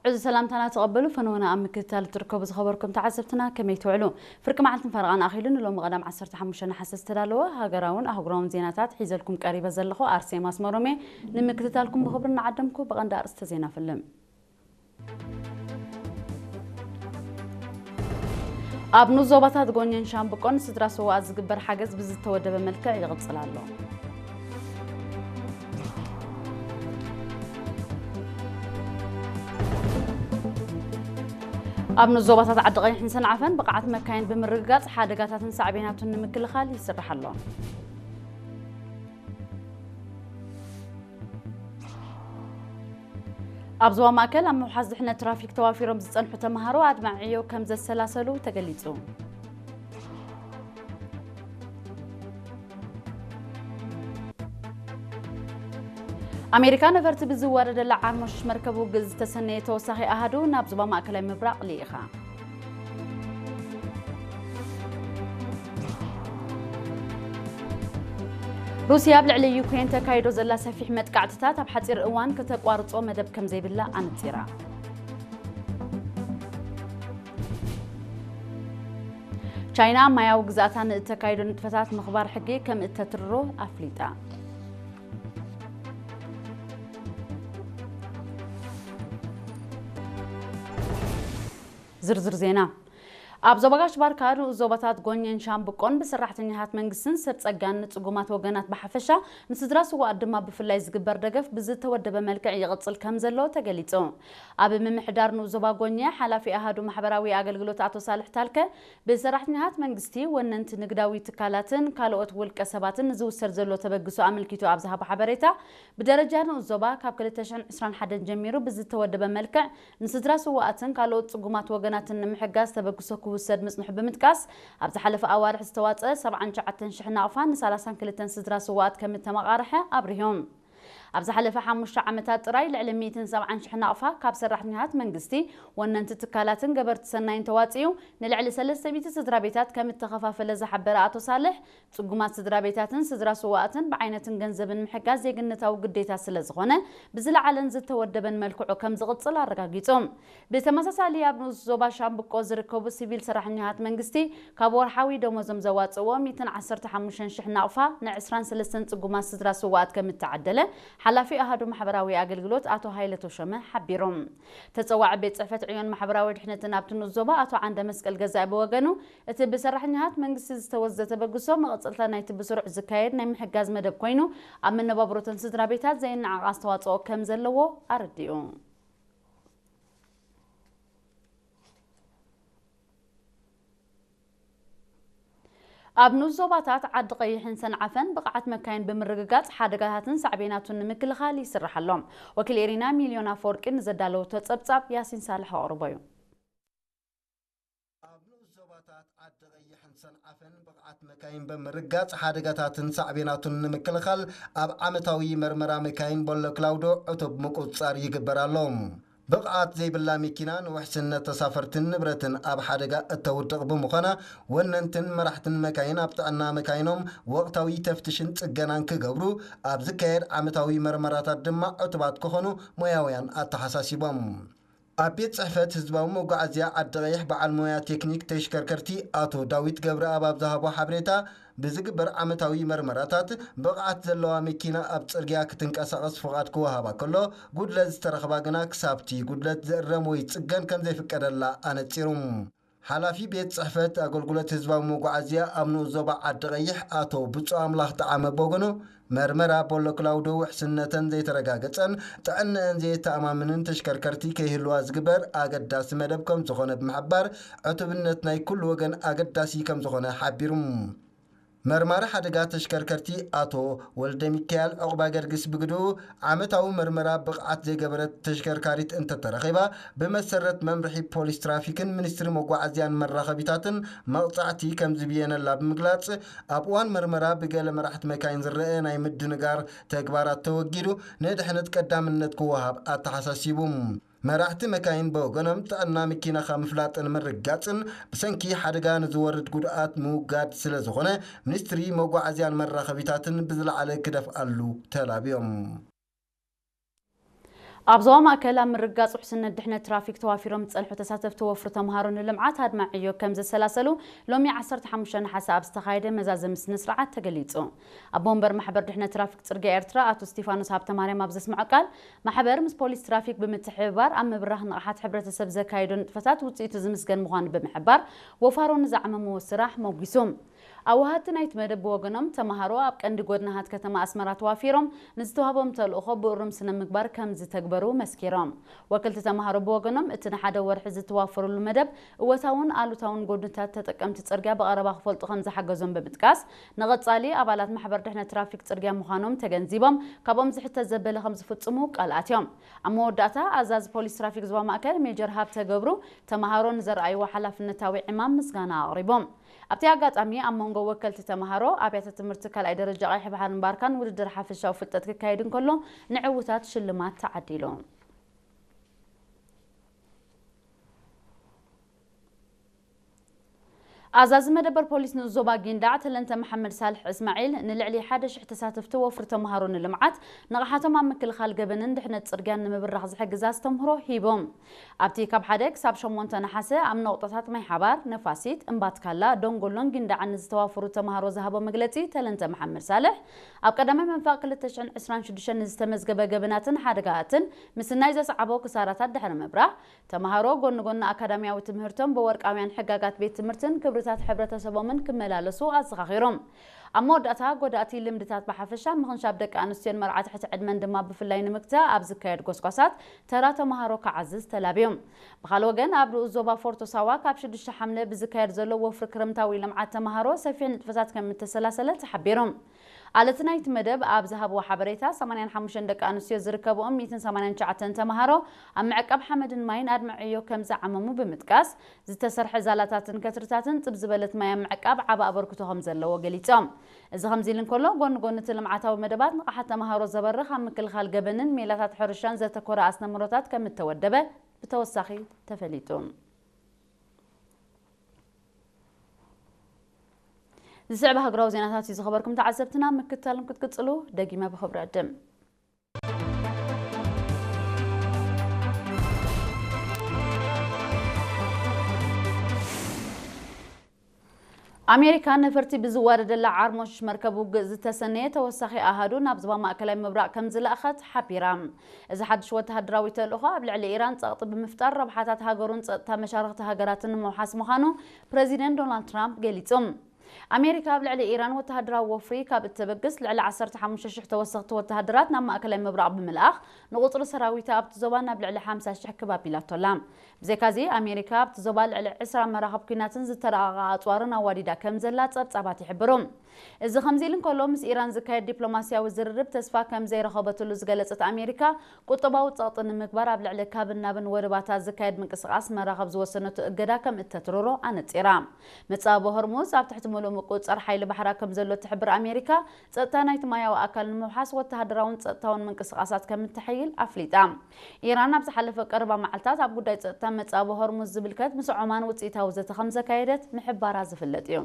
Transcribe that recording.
ዕዙዝ ሰላምታና ተቐበሉ። ፈነወና ኣብ ምክትታል እትርከቡ ዝኸበርኩም ተዓዘብትና ከመይ ትውዕሉ? ፍርቂ መዓልትን ፈረቓን ኣኺሉ ንሎሚ ቀዳም ዓሰርተ ሓሙሽተ ነሓሰ ዝተዳለወ ሃገራውን ኣህጉራውን ዜናታት ሒዘልኩም ቀሪበ ዘለኹ ኣርሴማ ኣስመሮም እየ። ንምክትታልኩም ብኽብሪ እናዓደምኩ ብቐንዲ ኣርእስተ ዜና ፍልም። ኣብ ንኡስ ዞባታት ጎኘን ሻምብቆን ስድራ ስውኣት ዝግበር ሓገዝ ብዝተወደበ መልክዕ ይቕጽል ኣሎ። ኣብ ንኡስ ዞባታት ዓዲ ቀይሕን ሰንዓፈን ብቕዓት መካይን ብምርግጋጽ ሓደጋታትን ሳዕቤናቱን ንምክልኻል ይስራሕ ኣሎ። ኣብ ዞባ ማእከል ኣብ ምውሓስ ድሕነት ትራፊክ ተዋፊሮም ዝጸንሑ ተምሃሮ ኣድማዒ ዕዮ ከም ዘሰላሰሉ ተገሊጹ። ኣሜሪካ ነፈርቲ ብዝዋደደላ ዓርሞሽ መርከብ ውግእ ዝተሰነየ ተወሳኺ ኣሃዱ ናብ ዞባ ማእከላይ ምብራቕ ልኢኻ። ሩስያ ኣብ ልዕሊ ዩክሬን ተካይዶ ዘላ ሰፊሕ መጥቃዕትታት ኣብ ሓጺር እዋን ከተቋርጾ መደብ ከም ዘይብላ ኣነጺራ። ቻይና ማያዊ ግዛእታ ንእተካይዶ ንጥፈታት ምኽባር ሕጊ ከም እተትርሮ ኣፍሊጣ። ዝርዝር ዜና። ኣብ ዞባ ጋሽ ባርካ ንኡስ ዞባታት ጎኘን ሻምብቆን ብሰራሕተኛታት መንግስትን ሰብ ጸጋን ንጽጉማት ወገናት ብሓፈሻ ንስድራ ስውኣት ድማ ብፍላይ ዝግበር ደገፍ ብዝተወደበ መልክዕ ይቕጽል ከም ዘሎ ተገሊጹ። ኣብ ምምሕዳር ንኡስ ዞባ ጎኘ ሓላፊ ኣሃዱ ማሕበራዊ ኣገልግሎት ኣቶ ሳልሕ ታልከ ብሰራሕተኛታት መንግስቲ፣ ወነንቲ ንግዳዊ ትካላትን ካልኦት ውልቀ ሰባትን ንዝውሰድ ዘሎ ተበግሶ ኣመልኪቱ ኣብ ዝሃቦ ሓበሬታ፣ ብደረጃ ንኡስ ዞባ ካብ ክልተ ሽሕን ዕስራን ሓደን ጀሚሩ ብዝተወደበ መልክዕ ንስድራ ስውኣትን ካልኦት ጽጉማት ወገናትን ንምሕጋዝ ተበግሶ ክውሰድ ምጽንሑ ብምጥቃስ፣ ኣብ ዝሓለፈ ኣዋርሕ ዝተዋጸ ሰብዓን ትሽዓተን ሽሕ ናቕፋ ንሰላሳን ክልተን ስድራ ስውኣት ከም እተመቓርሐ ኣብሪሆም። ኣብ ዝሓለፈ ሓሙሽተ ዓመታት ጥራይ ልዕሊ ሚእትን ሰብዓን ሽሕ ናቕፋ ካብ ሰራሕተኛታት መንግስቲ፣ ወነንቲ ትካላትን ገበርቲ ሰናይን ተዋጺኡ ንልዕሊ ሰለስተ ሚእቲ ስድራ ቤታት ከም እተኸፋፈለ ዝሓበረ ኣቶ ሳልሕ፣ ጽጉማት ስድራ ቤታትን ስድራ ስውኣትን ብዓይነትን ገንዘብን ምሕጋዝ ዜግነታዊ ግዴታ ስለ ዝኾነ፣ ብዝለዓለን ዝተወደበን መልክዑ ከም ዝቕጽል ኣረጋጊጹ። ብተመሳሳሊ፣ ኣብ ንኡስ ዞባ ሻምብቆ ዝርከቡ ሲቪል ሰራሕተኛታት መንግስቲ፣ ካብ ወርሓዊ ደሞዞም ዘዋጽእዎ ሚእትን ዓሰርተ ሓሙሽተን ሽሕ ናቕፋ ንዕስራን ሰለስተን ጽጉማት ስድራ ስውኣት ከም እተዓደለ፣ ሓላፊ ኣሃዱ ማሕበራዊ ኣገልግሎት ኣቶ ሃይለ ተሾመ ሓቢሮም። ተጸዋዒ ቤት ጽሕፈት ዕዮን ማሕበራዊ ድሕነትን ኣብቲ ንኡስ ዞባ ኣቶ ዓንደ መስቀል ገዛኢ ብወገኑ፣ እቲ ብሰራሕተኛታት መንግስቲ ዝተወስደ ተበግሶ፣ መቐጸልታ ናይቲ ብስሩዕ ዝካየድ ናይ ምሕጋዝ መደብ ኮይኑ፣ ኣብ መነባብሮተን ስድራ ቤታት ዘይነዓቕ ኣስተዋጽኦ ከም ዘለዎ ኣረዲኡ። ኣብ ንኡስ ዞባታት ዓዲ ቀይሕን ሰንዓፈን ብቕዓት መካይን ብምርግጋጽ ሓደጋታትን ሳዕቤናቱን ንምክልኻል ይስራሕ ኣሎ። ወኪል ኤሪና ሚልዮን ኣፈወርቂ ንዘዳለወቶ ጸብጻብ ያሲን ሳልሕ ኣቕርቦ እዩ። ኣብ ንኡስ ዞባታት ዓዲ ቀይሕን ሰንዓፈን ብቕዓት መካይን ብምርጋጽ ሓደጋታትን ሳዕቤናቱን ንምክልኻል ኣብ ዓመታዊ መርመራ መካይን ቦሎ ክላውዶ ዕቱብ ምቁጽጻር ይግበር ኣሎ። ብቕዓት ዘይብላ መኪና ንውሕስነት ተሳፈርትን ንብረትን ኣብ ሓደጋ እተውድቕ ብምዃና፣ ወነንትን መራሕትን መካይን ኣብ ጥዕና መካይኖም ወቕታዊ ተፍትሽን ጽገናን ክገብሩ ኣብ ዝካየድ ዓመታዊ መርመራታት ድማ ዕቱባት ክኾኑ ሞያውያን ኣተሓሳሲቦም። ኣብ ቤት ጽሕፈት ህዝባዊ መጓዓዝያ ዓዲ ቀይሕ በዓል ሞያ ቴክኒክ ተሽከርከርቲ ኣቶ ዳዊት ገብረኣብ ኣብ ዝሃቦ ሓበሬታ፣ ብዝግበር ዓመታዊ መርመራታት ብቕዓት ዘለዋ መኪና ኣብ ጽርግያ ክትንቀሳቐስ ፍቓድ ክወሃባ ከሎ፣ ጉድለት ዝተረኽባ ግና ክሳብቲ ጉድለት ዝእረም ወይ ዝጽገን ከም ዘይፍቀደላ ኣነጺሩ። ሓላፊ ቤት ጽሕፈት ኣገልግሎት ህዝባዊ መጓዓዝያ ኣብ ንኡስ ዞባ ዓዲ ቀይሕ ኣቶ ብጹእ ኣምላኽ ጠዓመ ብወገኑ፣ መርመራ ቦሎ ክላውዶ ውሕስነተን ዘይተረጋገጸን ጥዕነአን ዘየተኣማምንን ተሽከርከርቲ ከይህልዋ ዝግበር ኣገዳሲ መደብ ከም ዝኾነ ብምሕባር፣ ዕቱብነት ናይ ኩሉ ወገን ኣገዳሲ ከም ዝኾነ ሓቢሩ። መርማሪ ሓደጋ ተሽከርከርቲ ኣቶ ወልደ ሚካኤል ዕቑባ ገርግስ ብግድኡ፣ ዓመታዊ መርመራ ብቕዓት ዘይገበረት ተሽከርካሪት እንተተረኺባ፣ ብመሰረት መምርሒ ፖሊስ ትራፊክን ሚኒስትሪ መጓዓዝያን መራኸቢታትን መቕጻዕቲ ከም ዝብየነላ ብምግላጽ፣ ኣብ እዋን መርመራ ብገለ መራሕቲ መካይን ዝረአ ናይ ምድንጋር ተግባራት ተወጊዱ፣ ንድሕነት ቀዳምነት ክወሃብ ኣተሓሳሲቡ። መራሕቲ መካይን ብወገኖም፣ ጥዕና መኪናኻ ምፍላጥን ምርጋጽን ብሰንኪ ሓደጋ ንዝወርድ ጉድኣት ምውጋድ ስለ ዝኾነ፣ ሚኒስትሪ መጓዓዝያን መራኸቢታትን ብዝለዓለ ክደፍኣሉ ተላብዮም። ኣብ ዞባ ማእከል ኣብ ምርግጋጽ ውሕስነት ድሕነት ትራፊክ ተዋፊሮም ዝጸንሑ ተሳተፍቲ ወፍሪ ተምሃሮ ንልምዓት ኣድማዒ ዕዮ ከም ዘሰላሰሉ ሎሚ ዓሰርተ ሓሙሽተ ነሓሰ ኣብ ዝተኻየደ መዛዘሚ ስነ ስርዓት ተገሊጹ። ኣቦ ወንበር ማሕበር ድሕነት ትራፊክ ጽርግያ ኤርትራ ኣቶ እስቲፋኖስ ሃብተማርያም ኣብ ዘስምዖ ቃል፣ ማሕበር ምስ ፖሊስ ትራፊክ ብምትሕብባር ኣብ ምብራኽ ንቕሓት ሕብረተሰብ ዘካየዶ ንጥፈታት ውጽኢቱ ዝምስገን ምዃኑ ብምሕባር፣ ወፋሮ ንዝዓመምዎ ስራሕ ሞጒሱ። ኣወሃድቲ ናይቲ መደብ ብወገኖም፣ ተምሃሮ ኣብ ቀንዲ ጎድናታት ከተማ ኣስመራ ተዋፊሮም ንዝተዋህቦም ተልእኾ ብእሩም ስነ ምግባር ከም ዝተግበሩ መስኪሮም። ወከልቲ ተምሃሮ ብወገኖም፣ እቲ ንሓደ ወርሒ ዝተዋፈሩሉ መደብ እወታውን ኣሉታውን ጎድንታት ተጠቀምቲ ጽርግያ ብቐረባ ክፈልጡ ከም ዝሓገዞም ብምጥቃስ፣ ንቐጻሊ ኣባላት ማሕበር ድሕነት ትራፊክ ጽርግያ ምዃኖም ተገንዚቦም፣ ካብኦም ዝሕተት ዘበለ ከም ዝፍጽሙ ቃል ኣትዮም። ኣብ መወዳእታ፣ ኣዛዚ ፖሊስ ትራፊክ ዞባ ማእከል ሜጀር ሃብተ ገብሩ፣ ተምሃሮ ንዘርኣይዎ ሓላፍነታዊ ዕማም ምስጋና ኣቕሪቦም። ኣብቲ ኣጋጣሚ፣ ኣብ መንጎ ወከልቲ ተምሃሮ ኣብያተ ትምህርቲ ካልኣይ ደረጃ ቀይሕ ባሕርን ባርካን ውድድር ሓፈሻዊ ፍልጠት ክካየድ እንከሎ፣ ንዕዉታት ሽልማት ተዓዲሉ። ኣዛዚ መደበር ፖሊስ ንኡስ ዞባ ጊንዳዕ ተለንተ መሓመድ ሳልሕ እስማዒል፣ ንልዕሊ ሓደ ሽሕ ተሳተፍቲ ወፍሪ ተምሃሮ ንልምዓት ንቕሓቶም ኣብ ምክልኻል ገበንን ድሕነት ጽርግያን ንምብራኽ ዝሕግዝ ኣስተምህሮ ሂቦም። ኣብቲ ካብ ሓደ ክሳብ ሸሞንተ ነሓሰ ኣብ ነቑጣታት ማይ ሓባር፣ ነፋሲት፣ እምባትካላ፣ ደንጎሎን ጊንዳዕን ንዝተዋፈሩ ተምሃሮ ዝሃቦ መግለጺ ተለንተ መሓመድ ሳልሕ፣ ኣብ ቀዳማይ መንፈቕ ክልተ ሽሕን ዕስራን ሽዱሽተን ንዝተመዝገበ ገበናትን ሓደጋታትን ምስናይ ዘስዓቦ ክሳራታት ድሕሪ ምብራህ፣ ተምሃሮ ጎኒ ጎኒ ኣካዳሚያዊ ትምህርቶም ብወርቃውያን ሕጋጋት ቤት ትምህርትን ክብርታት ሕብረተሰቦምን ክመላለሱ ኣዘኻኺሮም። ኣብ መወዳእታ፣ ጎዳእቲ ልምድታት ብሓፈሻ፣ ምኽንሻብ ደቂ ኣንስትዮን መርዓ ትሕቲ ዕድመን ድማ ብፍላይ ንምግታእ ኣብ ዝካየድ ጎስጓሳት ተራ ተምሃሮ ክዓዝዝ ተላብዮም። ብኻልእ ወገን፣ ኣብ ንኡስ ዞባ ፎርቶ ሳዋ ካብ ሽዱሽተ ሓምለ ብዝካየድ ዘሎ ወፍሪ ክረምታዊ ልምዓት ተምሃሮ ሰፊሕ ንጥፈታት ከም እተሰላሰለ ተሓቢሩ። ኣለቲ ናይቲ መደብ ኣብ ዝሃብዎ ሓበሬታ፣ ሰማንያን ሓሙሽተን ደቂ ኣንስትዮ ዝርከብኦም ሚእትን ሰማንያን ትሽዓተን ተምሃሮ ኣብ ምዕቃብ ሓመድን ማይን ኣድማዒ ዕዮ ከም ዝዓመሙ ብምጥቃስ፣ ዝተሰርሐ ዛላታትን ከትርታትን ጽብ ዝበለት ማይ ኣብ ምዕቃብ ዓቢ ኣበርክቶ ከም ዘለዎ ገሊጾም። እዚ ከምዚ ኢሉ እንከሎ፣ ጎኒ ጎኒ እቲ ልምዓታዊ መደባት ንቕሓት ተምሃሮ ዘበርኽ ኣብ ምክልኻል ገበንን ሜላታት ሕርሻን ዘተኮረ ኣስተምህሮታት ከም እተወደበ ብተወሳኺ ተፈሊጡ። ዝስዕብ ሃገራዊ ዜናታት እዩ ዝኸበርኩም ተዓዘብትና፣ ምክትታሎም ክትቅጽሉ ደጊመ ብኽብሪ ዕድም። ኣሜሪካ ነፈርቲ ብዝዋደደላ ዓርሞሽ መርከብ ውግእ ዝተሰነየ ተወሳኺ ኣሃዱ ናብ ዞባ ማእከላይ ምብራቕ ከም ዝለኣኸት ሓቢራ። እዚ ሓድሽ ወተሃደራዊ ተልእኾ ኣብ ልዕሊ ኢራን ጸቕጢ ብምፍጣር ረብሓታት ሃገሩን ጸጥታ መሻርኽቲ ሃገራትን ንምውሓስ ምዃኑ ፕረዚደንት ዶናልድ ትራምፕ ገሊጹ። ኣሜሪካ ኣብ ልዕሊ ኢራን ወተሃደራዊ ወፍሪ ካብ እተበግስ፣ ልዕሊ ዓሰርተ ሓሙሽተ ሽሕ ተወሰኽቲ ወተሃደራት ናብ ማእከላይ ምብራቕ ብምልኣኽ፣ ንቑጽሪ ሰራዊታ ኣብቲ ዞባ ናብ ልዕሊ ሓምሳ ሽሕ ክብ ኣቢላቶ ኣላ። ብዘይካዚ፣ ኣሜሪካ ኣብቲ ዞባ ልዕሊ ዕስራ መራኽብ ኲናትን ዝተራቐቓ ኣጽዋርን ኣዋዲዳ ከም ዘላ ጸብጻባት ይሕብሩ። እዚ ከምዚ ኢሉ እንከሎ፣ ምስ ኢራን ዝካየድ ዲፕሎማስያዊ ዝርርብ ተስፋ ከም ዘይረኸበትሉ ዝገለጸት ኣሜሪካ፣ ቁጠባዊ ጸቕጢ ንምግባር ኣብ ልዕሊ ካብን ናብን ወደባታ ዝካየድ ምንቅስቓስ መራኽብ ዝወሰነቶ እገዳ ከም እተትርሮ ኣነጺራ። መጻብቦ ሆርሙዝ ኣብ ትሕቲ ምሉእ ምቁጽጻር ሓይሊ ባሕራ ከም ዘሎ እትሕብር ኣሜሪካ፣ ጸጥታ ናይቲ ማያዊ ኣካል ንምውሓስ ወተሃደራውን ጸጥታውን ምንቅስቓሳት ከም እተሐይል ኣፍሊጣ። ኢራን ኣብ ዝሓለፈ ቀረባ መዓልታት ኣብ ጉዳይ ጸጥታ መጻብቦ ሆርሙዝ ዝምልከት ምስ ዖማን ውጽኢታዊ ዘተ ከም ዘካየደት ምሕባራ ዝፍለጥ እዩ።